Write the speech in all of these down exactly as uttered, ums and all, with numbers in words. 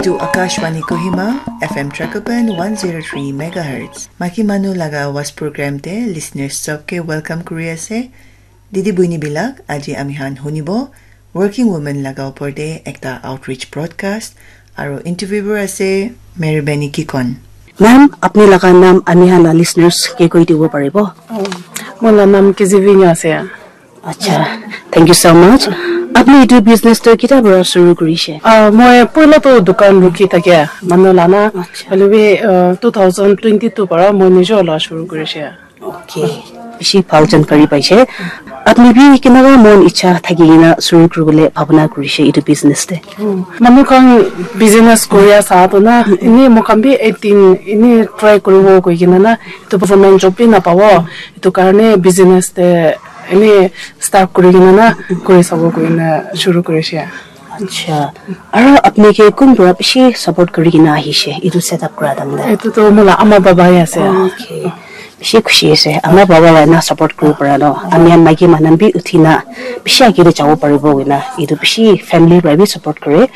To Akashvani Kohima, F M Trakopan one zero three megahertz. Maki manu laga awaaz program te listeners sob ke welcome kuri ase. Didi buini bilak, aji ami han hunibo working women laga upor te ekta outreach broadcast, aro interviewer ase Meribeni Kikon. Ma'am, apni laga naam ami han la listeners ke koi dibo paribo? Oh, moi la naam Kizivi Nyo ase. Acha, thank you so much. Apni etu business tu kita para shuru kurishe? Ah, moi poila tu dukan rukhi thakia manu lana. Acha. Hoilebi, ah, two thousand twenty-two para moi nijo la shuru kurishe. Okay. Bishi bhal jankari paishe. Apni bi kinaka mon icha thaki kena shuru kuribole bhabna kurishe etu business te? Manu khan business koria sa to na, ini moi khan bi eighteen ini try kuribo koi kena na, etu government job bi na pabo, etu karne business te ini start kuri kena na, kuri sabo koi kena shuru kurishe. Acha. Aro apni ke kun para bishi support kuri kena ahishe etu setup kura time te? Etu to mola ama baba he ase. Okay. Bishi khushi ase. Ama baba la na support kuri para no. Ami khan maiki manu bi uthi na bishi age te jabo paribo koi na. Etu bishi family para bi support kore.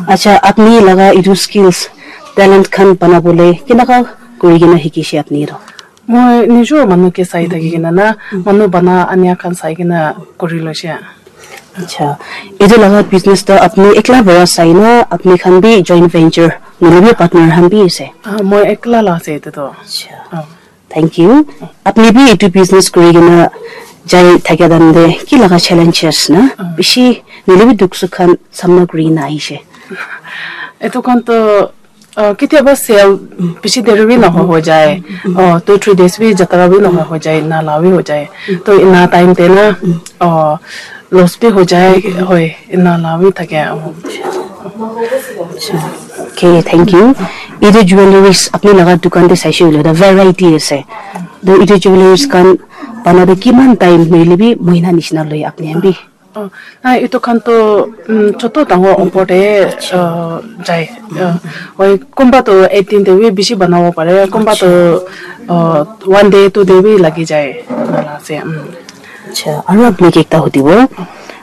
Acha, apni laga etu skills, talent khan bana bole kinaka kuri kena hikishe apni to? Moi nijo manu ke sai thaki kena na, manu bana ania khan sai kena kuri loishe. Acha, etu laga business to apni ekla para sai na, apni khan bi joint venture, nohoilebi partner khan bi ase? Ah, moi ekla la ase etu to. Acha. Ah. Thank you. Apni bi etu business kuri kena jai thakia time te ki laga challenges na? Ah. Bishi nohoilebi dukh sukh khan samna kuri kena ahishe? Etu khan to, ah, ketiaba sale bishi deri bi noho ho jai. Oh, two three days bi jatra bi noho ho jai, na la bi ho jai. To ina time te na, oh, loss bi ho jai, hoi, ina la bi thake. Oh. Okay, thank you. Etu jewelries apni laga dukan te saishe hoile to variety ase. To etu jewelries khan bana te kiman time nohoilebi mohina nishina loi apni khan bi? Oh, na etu khan to, um, choto dangor opor te, uh, jai. Uh, hoi, kunba to eighteen te bi bishi banabo pare, kunba to, uh, one day, two day bi lagi jai. Ena ase, um. Acha, aro apni ke ekta hudibo.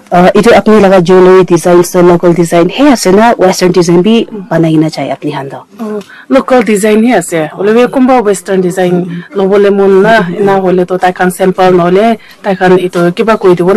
Uh, etu apni laga jewelry designs to local design he ase na western design bi banai kena jai apni khan to? Oh, local design he ase. Hoilebi kunba western design lobole mon na, ena hoile to tai khan sample nohole tai khan etu kiba koi dibo na,